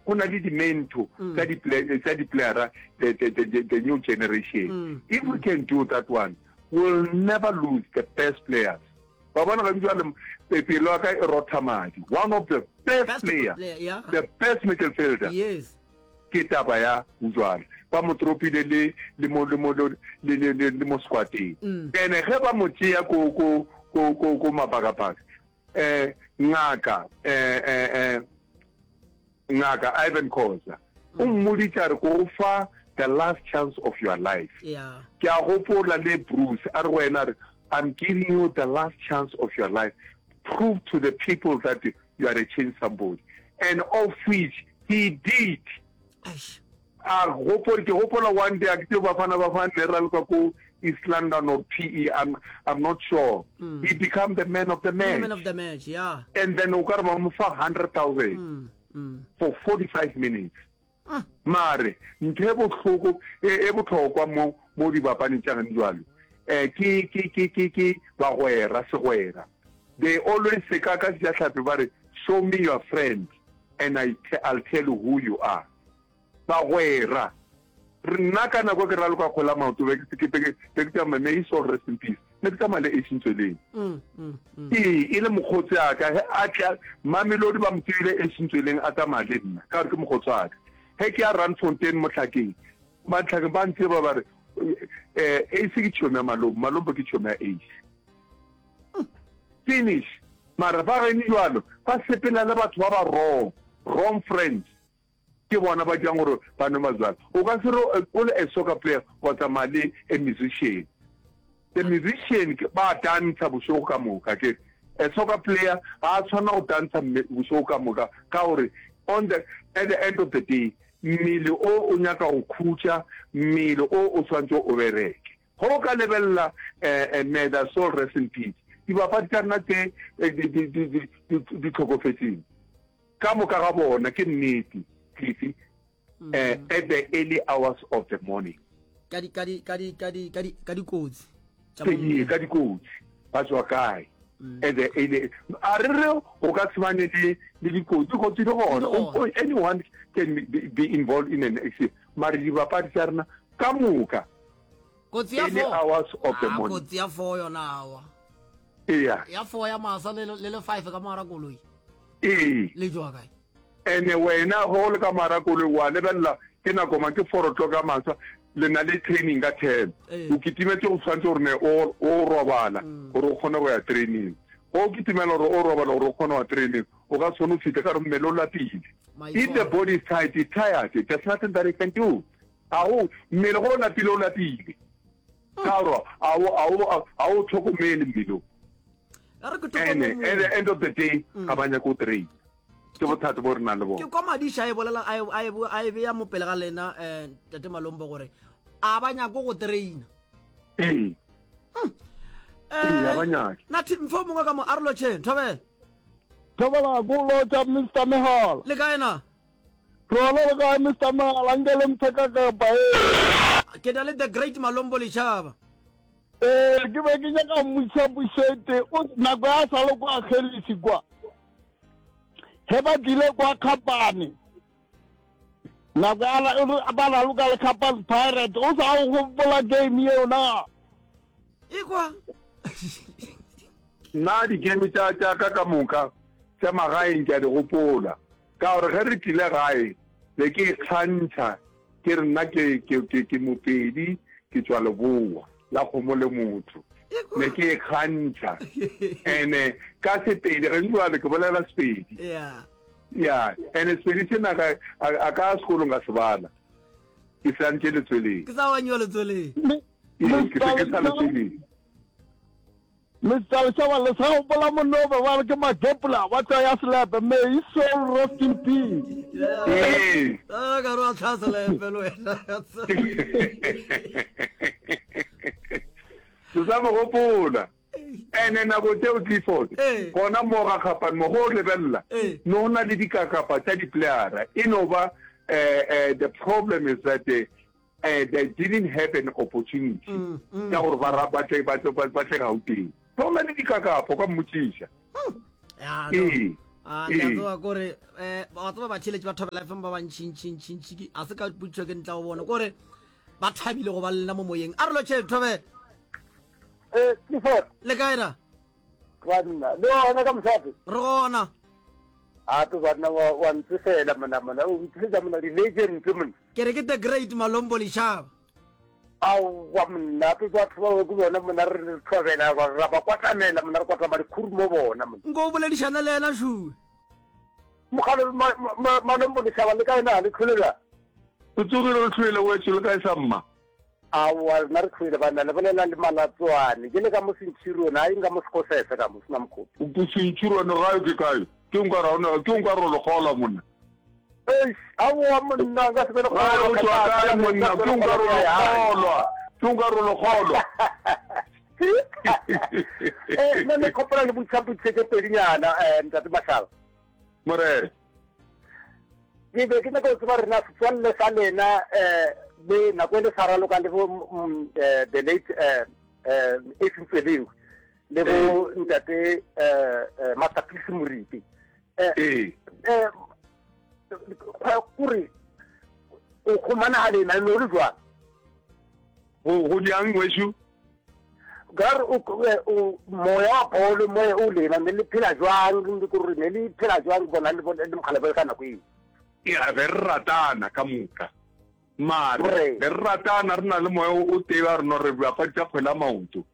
Go na le di-mento tsa di tsa di-playera the, the, the, the new generation. If we can do that one, we'll never lose the best players. Ba bona ga jwale pelo ya ka e rotha madi. One of the best, best player, player yeah. the best midfielder. Yes. Ke taba ya Ujwala. Ba mo tropile le le mo le mo le le le le mo squadeng. Mm. Ene ge ba mo tšea ko ko ko ko ko mabakabaka. Eh ngaka eh eh eh ngaka Ivan Khoza o mmoditše a re ko go fa the last chance of your life. Yeah. Ke a gopola le Bruce a re go yena a re I'm giving you the last chance of your life. Prove to the people that you are a change somebody. And of which he did. Eish. A gopole, ke gopola one day, a ke tsebe Bafana Bafana ne raloka ko East London or PE, I'm, I'm not sure. Mm. He become the man of the match. The man of the match, yeah. And then o ka re ba mo fa 100,000 mm, mm. for 45 minutes. Mm. Mare, ntho e bohloko, e, e bohlokwa mo, mo dibapading tša gane jwalo, eh, ke, ke, ke, ke, ke bagwera, segwera. They always say, ka, ka Sejahlapi ba re, show me your friend and I, I'll tell you who you are. Bagwera, re nna ka nako ke raloka kgwele ya maoto be ke be ke be ke tsamaya may his soul rest in peace ne ke tsamaya le Ace Ntsweleng. Ee, e le mokgotsi a ka ge a tla Mamelodi ba mo tsebile Ace Ntsweleng a tsamaya le nna ka gore ke mokgotsi wa ka. Ge ke ya Randfontein Mohlakeng, Matlhakeng ba ntseba ba re eh Ace ke tšhomi ya Malombo, Malombo ke tšhomi ya Ace. Finish. Mara ba geno jwalo ba sepela le batho ba ba wrong, wrong friends. Ke bona ba dirang gore ba nwe majwala. O ka se re o le a soccer player wa tsamaya le a musician. The musician ba dantsha bošego ka moka ke a soccer player ga a tshwanela go dantsha bošego ka moka ka gore on the at the end of the day mmele o o nyaka go khutša, mmele o o tshwanetse o bereke. Ge o ka lebelela May their soul rest in peace, dibapadi tša rena tše di hlokofetšeng, Ka moka ga bona, ke nnete, Cliffy, eh, at the early hours of the morning. Ka di, ka di, ka di, ka di, ka di, ka dikotsi. Tša mo Ee, mmileng. ka dikotsi. Ba tswa kae? At the early, a re re go ka se bane le, le dikotsi. Dikotsi di gona. Di gona. O, anyone can be, be involved in an accident. Mare dibapadi tša rena ka moka, Kotsi ya early four. hours of the Ah, morning. kotsi ya four yona awa. Eya. Ya four ya masa le le le five ka mogara koloi. Ee. Le tšwa kae? Ene wena ge o le ka mogara koloi wa lebelela ke nako mang ke four o'clock ya masa le na le training ka ten. Ee. O kitimetše go tshwanetse gore ne o o robala gore o kgone go ya training. Ge o kitimela gore o robala gore o kgone go ya training o ka se kgone go fihla ka gore mmele o lapile. If the Maitshwaro. body is tired, it's tired. There's nothing that you can do. Ga go, mmele ge o lapile o lapile. Ka gore a o, a o, a o tlhokomele mmele o. A re ke thoko Ene, mo at the mongwe. end of the day, ga ba nyake go train. Ke bothata bo re nang le Ke bona. kwa Madiša a e bolela, a e, a e, a e bea mo pele ga lena, eh, Tate Malombo gore a ba nyake go traina. Ee. Ee, ga ba nyake. Nathi, mfe o mongwe ka mo, a re lotšheng, thobela. Thobela, ko lotša Mister Mehala. Le kae na? Rona le kae Mister Mehala, nke le mphe ka kapa ee. Ke na le the great Malombo Lechaba. Ee, ke be ke nyaka mmotšiša potšišo e tee. O, nako ya sa le kwa Kgerisi kwa, ge ba tlile kwa Kgapane, nako ya la, ba raloka le Kgapane Pirate, o sa o gopola game yeo na? Ekwa. Nna di-game tša tša ka ka moka tša magaeng ke a di gopola. Ka gore ge re tlile gae, be ke ikgantšha ke re nna ke, ke, ke, ke Mopedi, ke tšwa Leboa la kgomo le motho. Ne ke ikgantšha. Ene ka Sepedi, ge jwale ke bolela Sepedi. Yeah. Ya, ene Sepedi sena ka, a, a ka sekolong ka se bala. Ke se antše letsweleng. Ke sa wanyiwa letsweleng. Ee, ke se ke sa letsweleng. Mister Leshaba le sa gopola monna o be ba re ke Magepula ba tšwa ya selepe may his soul rest in peace. Ee. Ah, ka re wa tlhaa selepe le wena. Ke sa mo gopola. Ene nako tšeo Clifford, Ee. gona mo ga Kgapane mo go lebelela, Ee. no go na le dikakapa tša di-playera. E no ba eh, eh, the problem is that eh, eh, they didn't have an opportunity mm, mm. ya gore ba ba tle ba tle ba tle Gauteng. Go na le dikakapo ka mmotšiša. Ya, Ee. A ke a tseba kore eh wa tseba batheeletši ba Thobela FM ba bantšintšintšintši ke a se ka potšišo ke ntla go bona kore ba thabile go ba le nna mo moyeng. A re lotšhe Thobela. Eh, Clifford. Le kae ra? Banna, le gona ka mošate? Re gona. A to banna wa wa ntsefela mona mona, o ntlisetsa mona di-legend mona. Ke re ke the great Malombo Lešaba. Aowa monna, ke batho bao ke bona monna re re thobela ra ba kwatamela monna re kwatama dikhuru mo bona monna. Nko o boledišana le yena šue. Mogale Malombo Lešaba le kae na le tlhole bjang? O tsogile o tlhoile wetšo le kae sa mma? Aowa rena re tlhoile banna le bolela le Malatswane ke le ka mo Centurion a eng ka mo Sekosese ka mo sena mokgopi. Ko Centurion gae ke kae? Ke nka ra ke nka ro le kgolwa monna. Eish, aowa monna, nka se be le Gae o tšwa kae monna? Ke nka ro le kgolwa. Ke nka ro le kgolwa. Eh, nna ne kgopela le botša potšišo tše pedinyana, eh, ntate Mashala. Morena. Ke be ke nyaka go tseba rena setswalle sa lena eh le nako e le sa raloka le bo mm, eh, the late eh eh Effi Mtswelengwe le bo ntate eh eh, Master Peace Moripe. Eh Ee. eh kore o kgomana ga lena le le jwang? Go go diang wešo? Ka re o o moya wa bolo moya o lena ne le phela jwang le kore ne le phela jwang bona le bona le mokgalabje ka nako eo? Ya be re ratana ka moka. Mare be re ratana re na le moya o tee wa rena re bapadi tša kgwele ya maoto.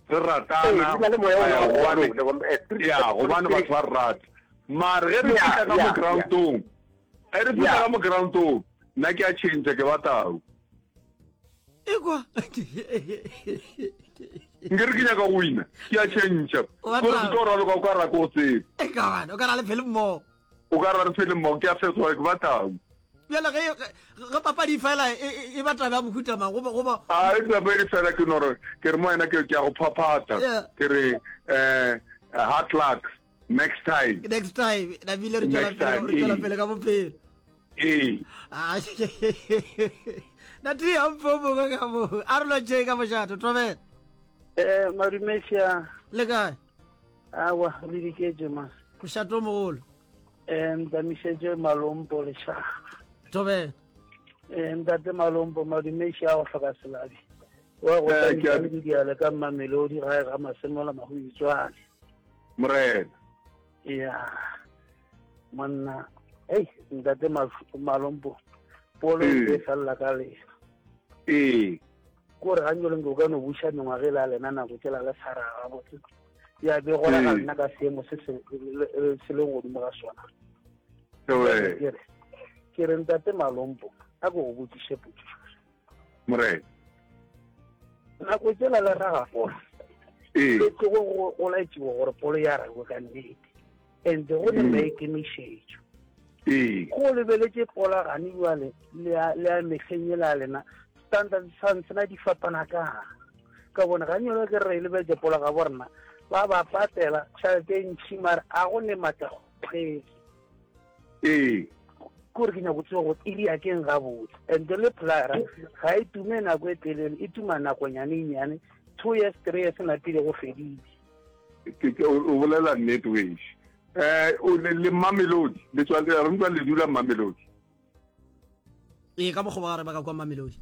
Re ratana gobane ya gobane batho ba re rata. Mare ge re fihla ka mo groundong, ge re fihla ka mo groundong, nna ke a change ke ba tau. Ekwa. Nkere ke nyaka go wina, ke a change. Gore ke tlo raloka o ka ra ke go tsebe. Eka bana, o ka ra le phele mmogo. O ka ra re phele mmogo, ke a fetoga ke ba tau. Bjale ge ge papadi e fela e, e, e ba taba ya mohuta mang goba goba A e papadi fela ke no re ke re mo wena ke ke a go phaphatha. Ke re eh hard luck next time. Next time na bile re tswela pele re tswela pele ka bophelo. Ee. Ah, na ti ya mpo mongwe ka mo a re lotšeng ka mošato thobela. Eh madumeša. Le kae? Awa le diketše ma. Mošato o mogolo. Eh ntamišetše Malompo lešaga. Thobela. Eh ntate Malompo madumeši a go hloka selabi. Wa go Eh, ke a- tla diale ka Mamelodi gae ga Masemola Mahuitswane. Morena. Ya. Monna, ei ntate Malompo polo e felela ka lena. Ee. Ko re ganyoleng ke o ka no buša mengwaga e la lena nako tšela le sa raga gabotse. Ya be gona ga nna ka seemo se se se leng godimo ga sona. Ke re ke re ntate Malompo a ko go botšiše potšišo. Morena. Nako tšela le raga polo. Ee. Le tlogo go laetšiwa gore polo ya ragwe ka nnete. And go ne maikemišetšo. Ee. Go lebeletše pola gane jwale le ya le ya mehleng yela ya lena standard sa sena di fapana kang ka bone ga nyolo ke re lebeletse pola ga borena ba ba patela tšhelete e ntšhi mare a go ne matlakgogedi Ee. Kore ke nyako tseba gore e ria keng gabotse and le playera ga e tume nako e telele e tuma nakonyane e nyane 2 years 3 years napile go fedile. Ke ke o bolela nnete wešo. Eh o le le Mamelodi le tswa le re le dula Mamelodi. Ee ka mokgwa ba re ba ka kwa Mamelodi.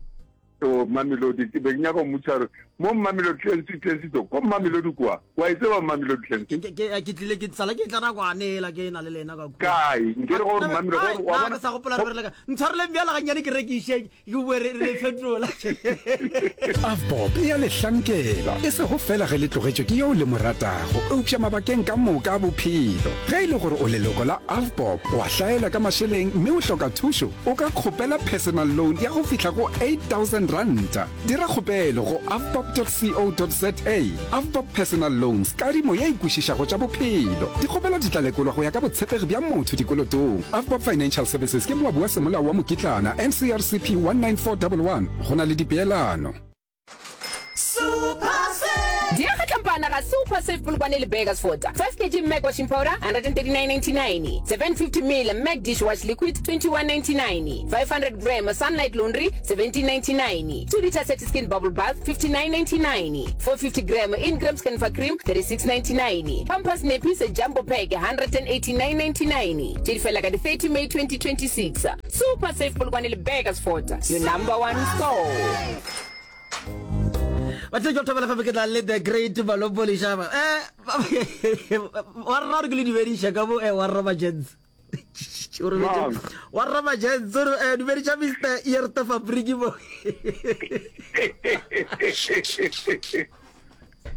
O Mamelodi ke be ke nyaka go mmotšiša gore mo Mamelodi Clancy Clancy to ko Mamelodi kwa wa e tseba Mamelodi Clancy? Ke ke ke tlile ke sala ke tla nakwane ela ke na le lena ka kwa. Kae nke re gore Mamelodi gore wa bona ke sa gopola re le ka ntshwareleng bjala gannyane ke rekiše ke boe re re fetola. Avbob e a le hlankela, e sego feela ge le tlogetšwe ke yo le mo ratago, eupša mabakeng ka moka a bophelo. Ge e le gore o leloko la Avbob, wa hlaela ka mašeleng mme o hloka thušo, O ka kgopela personal loan ya go fihla go R8000. Dira kgopelo go avbob.co.za. Avbob Personal Loans, kadimo ye e kwešišago tša bophelo. Dikgopelo di tla lekolwa go ya ka botshepegi bja motho dikolotong. Avbob Financial Services ke moabi wa semolao wa mokitlana, NCRCP 19411. Go na le dipeelano. Diega tlampana ga. Ka Super Save Polokwane le Burgersfort, 5 kg Mac washing powder 139.99, 750 ml Mac dishwash liquid 21.99, 500 gram Sunlight laundry 17.99, 2 litre Satiskin bubble bath 59.99, 450 gram Ingram Scanfa cream 36.99, Pampers nappies jumbo pack 189.99. Tše di fela ka di 30 May 2026. Super Save Polokwane le Burgersfort, your number one store. Batho ke thobela fa ke tla le the great Malombo Leshaba. Eh wa rra re ke le dumediša ka bo eh wa rra Majens. O re wa rra Majens o re eh dumediša Mr. Yerte Fabriki mo.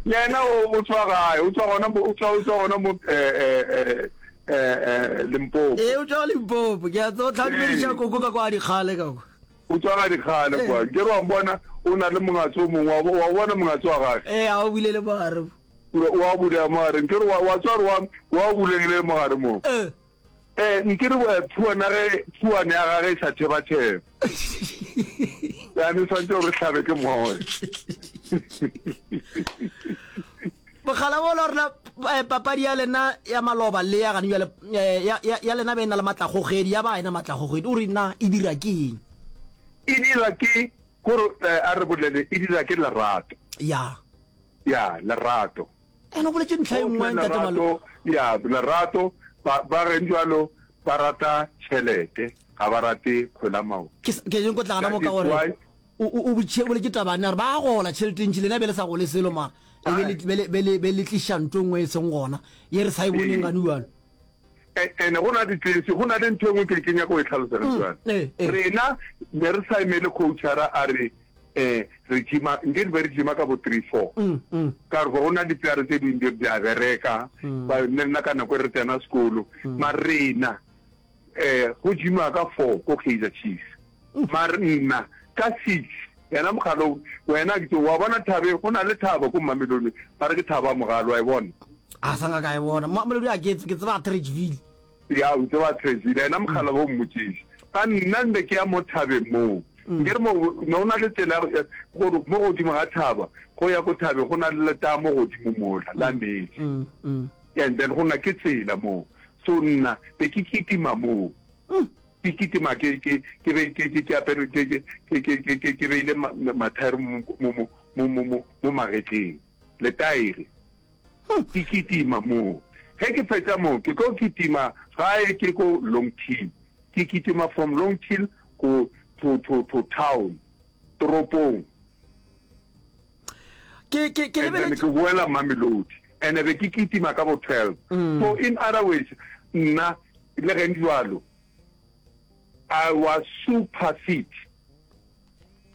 Yena o o tswa gae, o tswa gona mo o tswa o tswa gona mo eh eh eh eh eh Limpopo. Eh o tswa Limpopo. Ke a tseba tla dumediša koko ka kwa dikgale ka kwa. O tswa ga dikgale kwa. Ke re wa mbona o na le mongatse o mongwe, wa bona mongatse wa gage? Ee, a o bulele mogare. O a bulela mogare. Nke re wa tswa re wa wa bulegile mogare mo. Eh. Eh, nke re phuana ge phuane ya gage e sa thebatheba. Yani swantse gore hlabe ke moya. Mogala wo la rena eh, papadi ya lena ya maloba le ya gane bjale eh, ya, ya, ya lena be e na le matlakgogedi ya ba e na matlakgogedi o re na e dira ke eng? E dira ke gore eh, a re bolele e dira ke lerato. Ya. Ya, lerato. Ene o boletše ntlha e nngwe ntate Malo. Ya, lerato ba ba reng jalo ba rata tšhelete ga ba rate kgwele ya maoto. Ke ke nyako tla gana mo ka gore O, o, o botšhe, o boletše taba ne, a re ba gola tšhelete e ntši, lena be le sa gole selo mara e be le, be le, be le, be le tliša nto nngwe e seng gona, ye re sa e boneng gane bjalo. Ene go na ditlesi, go na le ntho e nngwe ke, ke nyaka go e hlalosa ge bjalo. Ee, ee. Rena ne re sa emele coachara a re um re gima, nke re be re gima ka bo three, four. Ka gore go na diplayere tse dingwe di a bereka, ba, le nna ka nako e re tsena sekolo, mara rena um go gimiwa ka four ko Kaizer Chiefs. Mare nna ka six yena mogalo wena ke wa bona thabe go na le thaba ko Mamelodi ba re ke thaba mogalo wa e bona. A sa nka ka e bona Mamelodi a ke ke tseba Atteridgeville. Ya o tseba Atteridgeville yena mogala bo mmotšiša ka nna nne ke ya mo thabeng moo nke re mo no na le tsela gore mo godimo ga thaba go ya ko thabeng go na le letamo godimo mola la metsi and then go na ke tsela moo so nna be ke kitima moo. Ke kitima ke ke ke be ke ke ke apere ke ke ke ke ke ke ke beile mathaere mo mo mo mo mo mo mo magetleng letaere. Ke kitima moo. Ge ke fetša moo ke tlo kitima gae ke ko Longhill. Ke kitima from Longhill go to to to town toropong. Ke ke ke And then ke boela Mamelodi. And be ke kitima ka bo 12. So in other words nna Le ge jwalo, I was super fit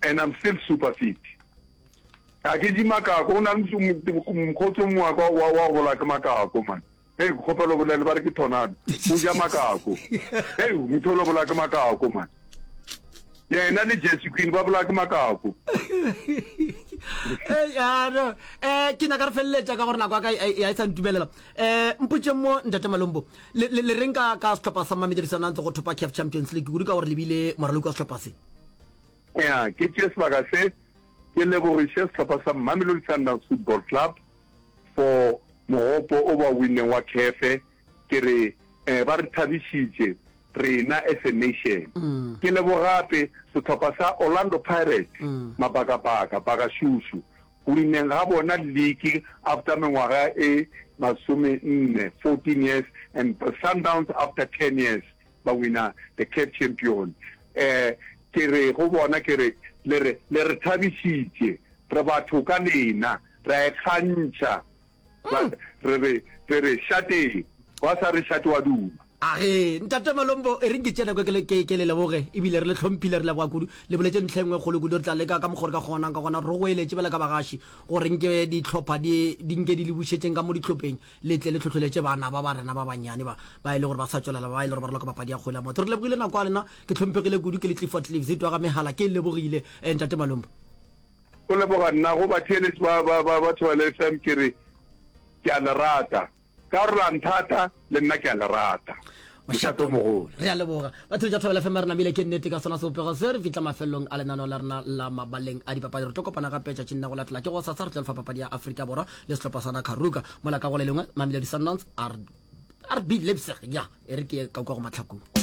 and I'm still super fit. Ga ke je makako, go na le mokgotsi o mongwe wa ka wa go bolaya ke makako man. Hei, ke kgopela o bolele ba re ke tornado, o ja makako. Hei, motho o bolaya ke makako man. Yena le Jesse Queen ba bolaya ke makako. Hey, ah, no. Eh, ke nyaka re feleletša ka gore nako ya ka e, e, e sa ntumelela. Eh, mpotšeng mo Ntate Malombo. Le, le, le reng ka, ka sehlopha sa Mamelodi Sundowns go thopa CAF Champions League kudu ka gore le bile moraloki wa sehlopha se? Ya, ke tšee sebaka se ke lebogiše sehlopha sa Mamelodi Sundowns Football Club for mogopo o ba winneng wa CAF. Ke re eh, ba re thabišitše rena as a nation. Ke lebogape sehlopha sa Orlando Pirates, mabakabaka, Bakashusu, Go wineng ga bona league after mengwaga e masomenne, 14 years, and Sundowns after 10 years ba wina the CAF Champion. Eh, ke re go bona ke re le re le re thabišitše, re batho ka lena, re a ikgantšha. Ba, re re re re šateng, wa sa re šate wa duma. A ge, Ntate Malombo, e reng ke tšee nako ke le, ke, ke le leboge, ebile re le hlomphile, re leboga kudu. Le boletše ntlha e nngwe e kgolo kudu, re tla leka ka mokgo re ka kgonang ka gona, re goeletše bjale ka bagaši, gore nke dihlopha di, di nke di le bušetšeng ka mo dihlopheng, le tle le hlohleletše bana ba ba rena ba bannyane ba, ba e le gore ba sa tšwelela, ba e le gore ba raloka papadi ya kgwele ya maoto. Re lebogile nako ya lena, ke hlomphegile kudu, ke le Clifford Cleaves, twa ga mehala, ke lebogile, eh, Ntate Malombo. Go leboga nna, go batheeletši ba, ba, ba, ba Thobela FM, ke re, ke a le rata. Ka gore la nthata, le nna ke a le rata. Mošate o mogolo. Re a leboga. Batho tša Thobela FM re namile ke nnete ka sona sebopego se re fihla mafelelong a lenaneo la rena la mabaleng a dipapadi. Re tlo kopana gape tšatšing la go latela ke gosasa re tlo lefa papadi ya Afrika Borwa le sehlopha sa Nakaruka. Mola ka go le lengwe Mamelodi Sundowns RB Leipzig ya e re ke ye ka kwa go mahlakong.